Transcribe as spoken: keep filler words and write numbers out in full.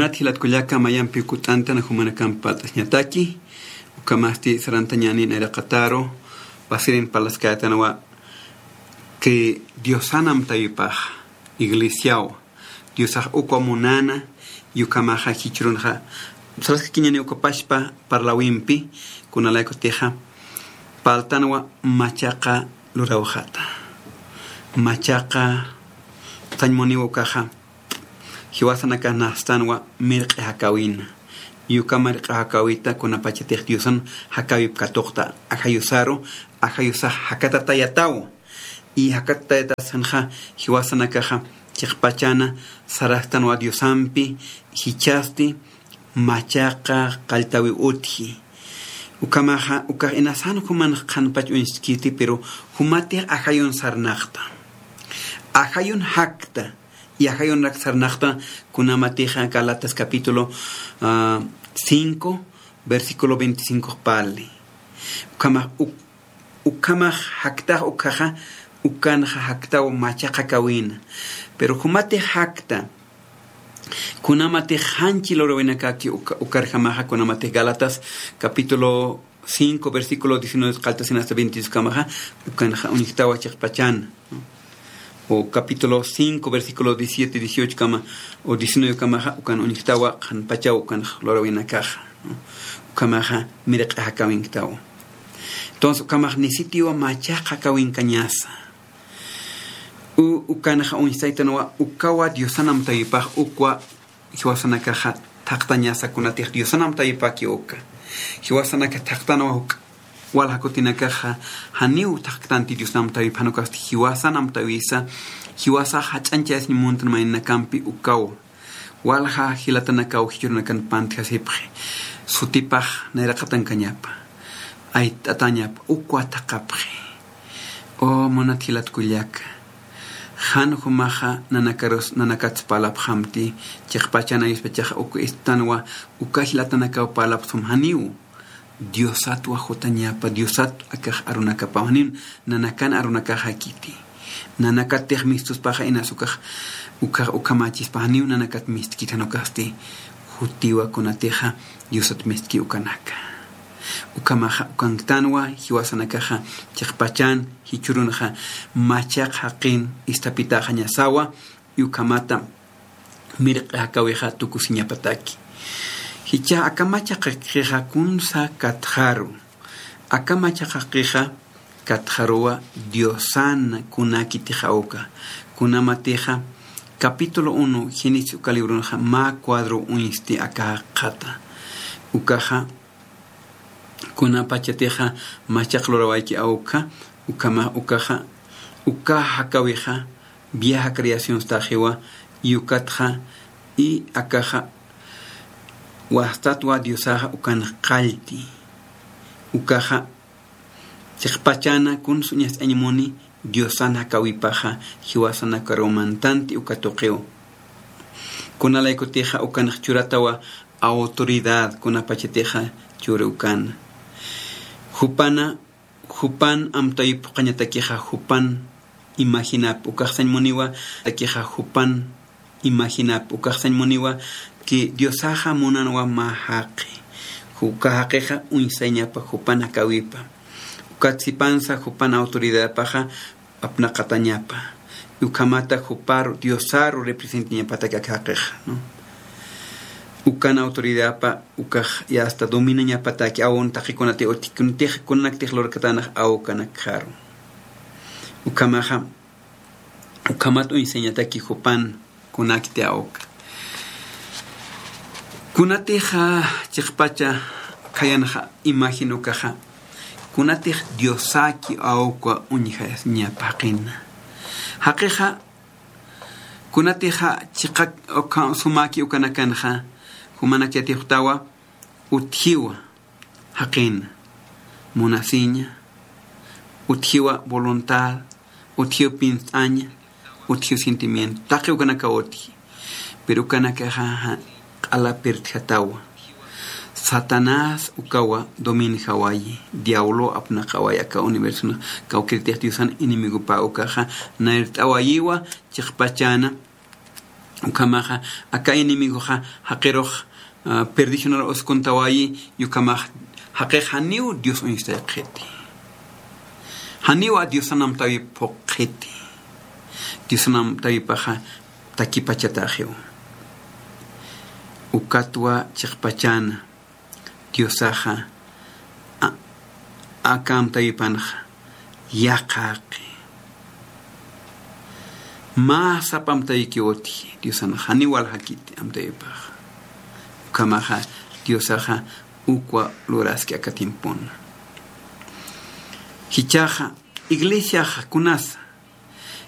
Munat jilat kullaka, mayampi kut'antan jumanakamp parlt'añataki, ukhamasti sarantañäni nayraqataru, pasirin parlaskätanwa que Diosan amtawipax iglesiaw, Diosax ukwa munana, y ukhamaxa jichhürunxa, saraskakiñäni uka pachpa parläwimpi, kunalaykutixa, parltanwa machaqa lurawxata. Machaqa, sañ muniwa ukaxa, jiwasanakax nastanwa mirq'i jakäwina. Y uka mirq'i jakäwita kunapachatix Diosan jakäwip katuqta ajayusaru, ajayusax jakatatayataw. Y jakatatayatasanxa jiwasanakaxa chiqpachana sarastanwa Diosampi, jichhasti machaqa qalltawiw utji. Ukhamaxa, ukax inasan jumanx qhanpach uñskiti, pero jumatix ajayun sarnaqta. Ajayun jakta, y ajayunak sarnaqta, kunamatixa Gálatas capítulo, ah, cinco, versículo veinticinco parli. Ukhamax, uk-, ukhamax jaktax ukhaxa, ukanxa jaktaw machaqa jakäwina. Pero jumatix jakta, kunamatix janchi lurawinakaki uka-, ukarjamaxa, kunamatix Gálatas capítulo cinco, versículo diecinueve qalltasin hasta veintidós kamaxa, ukanxa uñjtawa chiqpachan, ¿no? O capítulo cinco, versículo diecisiete, dieciocho kama, o diecinueve kamaxa, ukan uñjtawa qhanpachaw ukanx lurawinakaxa, ¿no? Ukhamaxa mirq'i jakäwinktawa. Entonces, ukhamax nisitiwa machaqa jakäwinkañasa. U-, ukanxa uñstaytanwa, ukawa Diosan amtawipax ukwa jiwasanakaxa thaqtañasa kunatix Diosan amtawipaki uka. Jiwasanakax thaqtanwa juk walja kutinakaxa, janiw thaqtanti Diosan amtawip, jan ukasti jiwasan amtawisa, jiwasax jach'añchayasiñ muntan maynakampi ukawa. Walja jilatanakaw jichhürunakan pantjasipxi. Sutipax nayraqatankañapa. Ayt'atañapa, ukwa thaqapxi. O munat jilat kullaka, jan jumaxa nanakarus, nanakats parlapxamti, chiqpachan ayuspachaxa uk istanwa, uka jilatanakaw parlapxsum janiw. Diosatwa jutañapa, Diosat akax arunakapaw, janiw nanakan arunakaxakiti. Nanakatix mistuspaxa inas ukax, ukax ukhamachispa, janiw nanakat mistkiti, jan ukasti jutiwa kunatixa Diosat mistki ukanaka. Ukhamaxa ukanktanwa jiwasanakaxa chiqpachan jichhürunxa machaq jaqin isthapitaxañasawa, y ukhamata mirq'i jakäwixa tukusiñapataki. Jichha aka machaq jaqixa kunsa katxaru. Aka machaq jaqixa katxaruwa Diosan kunakitix awka. Kunamatixa capítulo uno Génesis uka librunxa mä cuadro uñsti aka jaqxata. Ukaxa kunapachatixa machaq lurawayki awka, ukhama, ukaxa, uka jakäwixa vieja creación staxiwa, y ukatxa, y akaxa wastatwa Diosaxa ukan qallti. Ukaxa chiqpachana kuns uñast'añ muni Diosan jakäwipaxa jiwasanakaruw mantanti uka tuqiw. Kunalaykutixa ukanx churatawa autoridad kunapachatixa churi ukana. Jupana, jupan amtawi phuqhañatakixa jupan imaginap, ukax sañ muniwa, takixa jupan imaginap, ukax sañ muniwa que Diosaxa munanwa mä jaqi. Uka jaqixa uñsayñapa jupan jakäwipa. Ukat sipansa jupan autoridapaxa apnaqatañapa. Ukhamata juparu, Diosaru representañapataki aka jaqixa, ¿no? Ukan autoridapa, ukax ya hasta dominañapataki, aun taqikunati utji, kunatix, kunanaktix lurkatanx awkanakxaru. Ukhamaxa, ukhamat uñsañataki jupan kunakti awka. Kunatixa chiqpacha khayanxa imagen ukaxa, kunatix Diosaki awka uñjasiñapa jaqina. Jaqixa, kunatixa chiqa uka, sumaki ukanakanxa, jumanak yatiyxtawa, utjiwa jaqina, munasiña, utjiwa voluntad, utjiw pinst'aña, utjiw sentimiento, taqi ukanakaw utji. Pero ukanakaxa q'ala pirtjatawa. Satanás ukawa dominjawayi, diablo apnaqawayi aka universo, kawkïritix Diosan enemigopa ukaxa nayrt'awayiwa chiqpachana Ukhamaxa aka enemigoxa jaqirux perdicionar uskuntawayi. Ukhamax jaqix janiw Dios uñstay qhiti, janiw a Diosan amtäwip phuqhiti. Diosan amtäwipaxa takipachataxiw. Ukatwa chiqpachana Diosaxa aka amtäwipanxa yaqhaqi. Mä sapa amtäwikiw utji Diosanxa, janiw waljakiti amtäwipaxa. Ukhamaxa Diosaxa ukwa luraski aka tiempona. Jichhaxa iglesiaxa kunasa